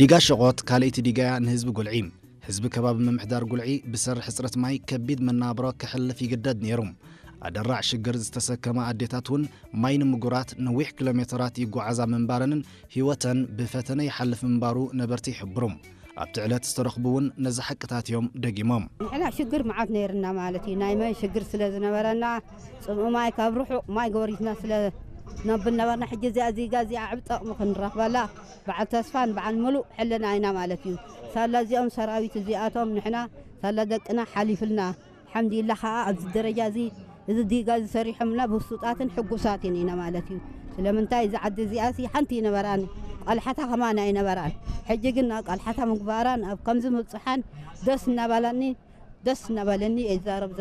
ዲጋ ሸቖት ካልኣይቲ ዲጋያ ንህዝቢ ጉልዒ። ህዝቢ ከባቢ ምምሕዳር ጉልዒ ብሰሪ ሕፅረት ማይ ከቢድ መናብሮ ከሕልፍ ይግደድ ነይሩ። ኣደራዕ ሽግር ዝተሰከማ ኣዴታት እውን ማይ ንምጉራት ነዊሕ ኪሎ ሜተራት ይጓዓዛ ምንባረንን ህይወተን ብፈተነ ይሓልፍ ምንባሩ ነበርቲ ይሕብሩ። ኣብቲ ዕለት ዝተረኽቡ እውን ነዚ ሓቅታት እዮም ደጊሞም። ንሕና ሽግር መዓት ነይርና ማለት እዩ። ናይ ማይ ሽግር ስለ ዝነበረና፣ ጽምኡ ማይ ካብ ርሑቕ ማይ ጎሪትና ስለ ነብል ነበርና። ሕጂ እዚኣ እዚጋ እዚኣ ዓብ ጠቕሚ ክንረኽበላ በዓል ተስፋን በዓል ምሉእ ሕልና ኢና ማለት እዩ። ሳላ እዚኦም ሰራዊት እዚኣቶም ንሕና ሳላ ደቅና ሓሊፍልና። ሓምዲላ ኸዓ ኣብዚ ደረጃ እዚ፣ እዚ ዲጋ እዚ ሰሪሖምና ብሱጣትን ሕጉሳትን ኢና ማለት እዩ። ስለምንታይ እዚ ዓዲ እዚኣሲ ሓንቲ ይነበራን፣ ቃልሓታ ከማን ኣይነበራን። ሕጂ ግን ናብ ቃልሓታ ምግባራን ኣብ ከምዚ ምብጽሓን ደስ እናባላኒ፣ ደስ እናባለኒ እየ ዝዛረብ ዘሎ።